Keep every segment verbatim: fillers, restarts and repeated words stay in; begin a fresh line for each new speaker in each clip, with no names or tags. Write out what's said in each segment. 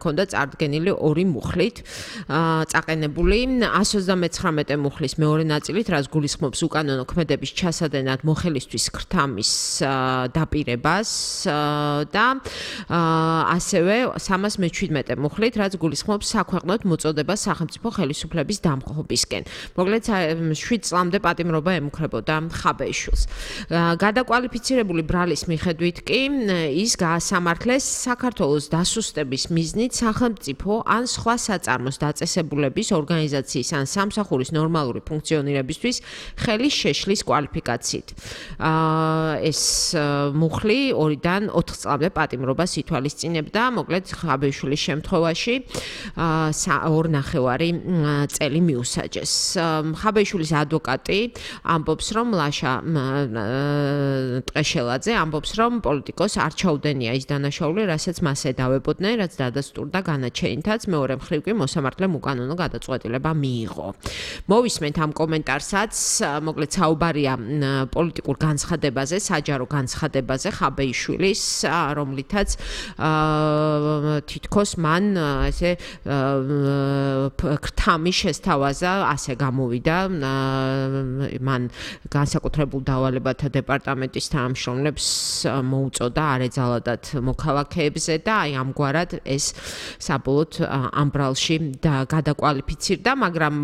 ქონდა წარდგენილი ორი მუხლით წაყენებული εκατს ოცდამეცხრამეტე მუხლის მეორე ნაწილით, რაც გულისხმობს უკანონო ქმედების ჩასადენად მოხელისთვის ქრთამის დაპირებას და ასევე სამას მეჩვიდმეტე მუხლით, რაც გულისხმობს საქვეყნოდ მოწოდებას სახელმწიფო ხელისუფლების დამხობისკენ. მოკლედ შვიდ წლამდე პატიმრობა ემუქრებოდა ხაბეიშვილს. გადაკვალიფიცირებული ბრალის მიხედვით კი ის გაასამართლეს საქართველოს დასუსტების მიზნით სახელმწიფო ან სხვა საწარმოს დაწესებულების ორგანიზაციის ან სამსახურის ნორმალური ფუნქციონირებისთვის ხელის შეშლის კვალიფიკაციით. ეს მუხლი ორიდან ოთხ წლამდე პატიმრობას ითვალისწინებდა, მოკლედ ხაბეიშვილის შემთხვევაში ორ ნახევარი წელი მიუსაჯეს. ხაბეიშვილის ადვოკატი ამბობს, რომ ლაშა ტყეშელაძე ამბობს, რომ პოლიტიკოს არ ჩაუდენია ის დანაშაული, რასაც მას ედავებოდნენ, რაც დადასტურდა განაჩენითაც, მეორე მხრივ კი მოსამართლემ უკანონო გადაწყვეტილება მიიღო. მოვისმენთ ამ კომენტარსაც, მოკლედ საუბარია პოლიტიკურ განცხადებაზე, საჯარო განცხადებაზე ხაბეიშვილის, რომლითაც თითქოს მან ესე ქრთამი შესთავაზა, ასე გამოვიდა, მან განსაკუთრებულ დავალებათა დეპარტამენტის თანამშრომლებს მოუწოდა არ ეძალადათ მოქალაქეებზე და აი ამგვარად ეს საბოლოოდ ამ ბრალში გადაკვალიფიცირდა, მაგრამ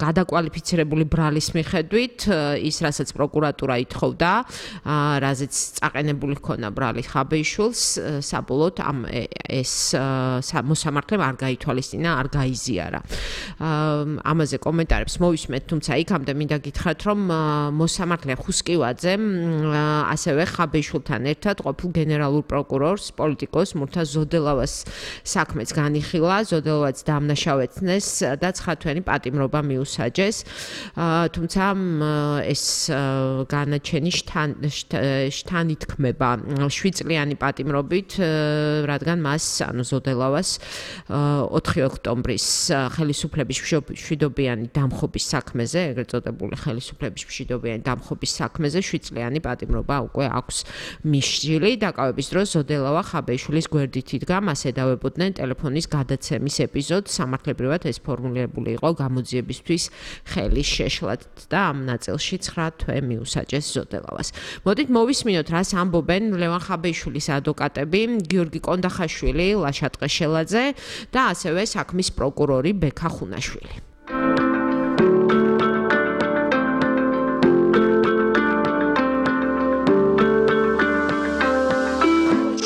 გადაკვალიფიცირებული ბრალის მიხედვით ის, რასაც პროკურატურა ითხოვდა, რაზეც წაყენებული ჰქონდა ბრალი ხაბეიშვილს, საბოლოოდ ამ ეს მოსამართლემ არ გაითვალისწინა, არ გაიზიარა. ამაზე კომენტარებს მოვისმენთ, თუმცა იქამდე მინდა გითხრათ, რომ მოსამართლე ხუსკივაძემ ასევე ხაბეიშვილთან ერთად ყოფილ გენერალურ პროკურორს პოლიტიკოს მურთა ზოდელავას საქმეც განიხილა, ზოდელავაც დამნაშავეცნეს და ცხრათვიანი პატიმრობა მიუსაჯეს. თუმცა ეს განაჩენი შთანითქმება შვიდწლიანი პატიმრობით, რადგან მას, ანუ ზოდელავას ოთხი ოქტომბრის ხელისუფლების მშვიდობიანი დამხობის საქმეზე, ეგრეთ წოდებული ხელისუფლების მშვიდობიანი დამხობის საქმეზე შვიდწლიანი პატიმრობა უკვე აქვს მისჯილი. დაკავების დროს ზოდელავა ხაბეიშვილის გვერდით იდგა, მას ედავებოდნენ ტელეფონის გადაცემის ეპიზოდს, სამართლებრივად ეს ფორმულირებული იყო გამოძიებისთვის ხელის შეშლად და ამ ნაწილში ცხრა თვე მიუსაჯეს ზოდელავას. მოდით მოვისმინოთ, რას ამბობენ ლევან ხაბეიშვილის ადვოკატები, გიორგი კონდახაშვილი, ლაშა ტყეშელაძე და ასევე საქმის პროკურორი ბექა ხუნაშვილი.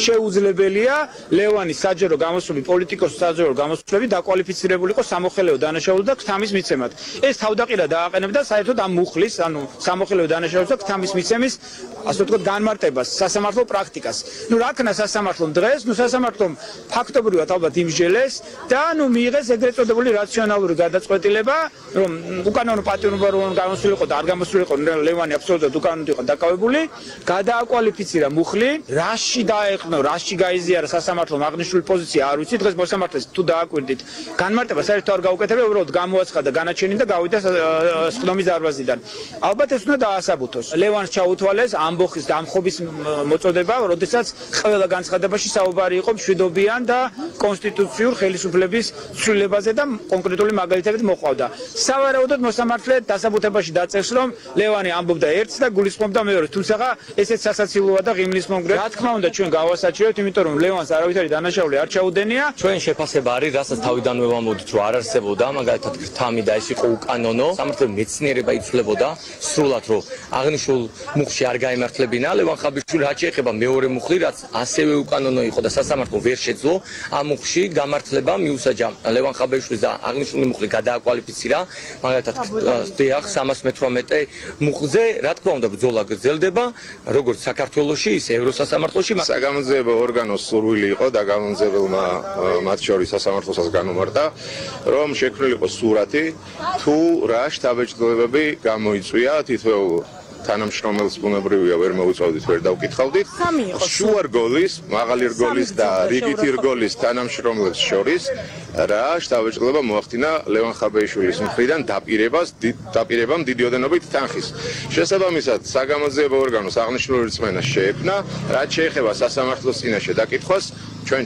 შეუძლებელია ლევანის საჯარო გამოსვლები, პოლიტიკოს საჯარო გამოსვლები დაკვალიფიცირებული იყო სამოხელეო დანაშაულად და ქთამის მიცემად. ეს თავდაყირა დააყენებდა საერთოდ ამ მუხლის, ანუ სამოხელეო დანაშაულს და ქთამის მიცემის, ასე ვთქვათ, განმარტებას, სასამართლო პრაქტიკას. ნუ რა ქნა სასამართლომ დღეს, ნუ სასამართლომ ფაქტობრივად ალბათ იმსჯელეს და ნუ მიიღეს ეგრეთ წოდებული რაციონალური გადაწყვეტილება, რომ უკანონო პატიმრობა რომ გამოსულიყო და არ გამოსულიყო, ლევანი აბსოლუტურად უკანონოდ იყო დაკავებული, გადააკვალიფიცირა მუხლი, რაში დაეყო რაში გაიზიარა სასამართლომ აღნიშნული პოზიცია არ ვიცი, დღეს მოსამართლეს თუ დააკვირდით განმარტება საერთოდ არ გაუკეთებია, უბრალოდ გამოაცხადა განაჩენი და გავიდა სხდომის დარბაზიდან. ალბათ ეს უნდა დაასაბუთოს. ლევანს ჩაუთვალეს ამბოხის დამხობის მოწოდება, როდესაც ყველა განცხადებაში საუბარი იყო მშვიდობიან და კონსტიტუციურ ხელისუფლების ცვლილებაზე და კონკრეტული მაგალითებით მოყავდა. სავარაუდოდ მოსამართლე დასაბუთებაში დაწევს, რომ ლევანი ამბობდა ერთს და გულისხმობდა მეორეს, თუმცა ესეც სასაცილოა და ღიმლის მომგვრე. რა თქმა უნდა ჩვენ გავასაჩივრებთ, იმიტომ რომ ლევანს არავითარი დანაშაული არ ჩაუდენია.
ჩვენ შეფასება არის, რასაც თავიდანვე ვამბობთ, რომ არ არსებობდა, მაგალითად ქრთამი და ეს იყო უკანონო, სამართლის მეცნიერება იცვლებოდა სრულად, რომ აღნიშნულ მუხლში არ გაემართლებინა ლევან ხაბეიშვილი, რაც შეეხება მეორე მუხლი, რაც ასევე უკანონო იყო და სასამართლო ვერ შეძლო ამ მუხლში გამართლება მიუსაჯა ლევან ხაბეიშვილს და აღნიშნული მუხლი გადააკვალიფიცირა, მაგალითად დიახ სამას მეთვრამეტე მუხლზე, რა თქმა უნდა ბრძოლა გრძელდება, როგორც საქართველოში, ისე ევროსასამართლოში.
საგამოძიებო ორგანოს სურვილი იყო და გამომძიებელმა მათ შორის სასამართლოსაც განუმარტა, რომ შექმნილიყო სურათი, თუ რა შთაბეჭდილებები გამოიწვია თითოეულ თანამშრომელს ბუნებრივია ვერ მოუწოდით, ვერ დავკითხავდით. შუა რგოლის, მაღალი რგოლის და რიგითი რგოლის თანამშრომლებს შორის რა შთაბეჭდილება მოახდინა ლევან ხაბეიშვილის მხრიდან დაპირებას, დაპირებამ დიდი ოდენობით თანხის. შესაბამისად, საგამოძიებო ორგანოს აღნიშნული რწმენა შეექმნა, რაც შეეხება სასამართლოს წინაშე დაკითხვას, ჩვენ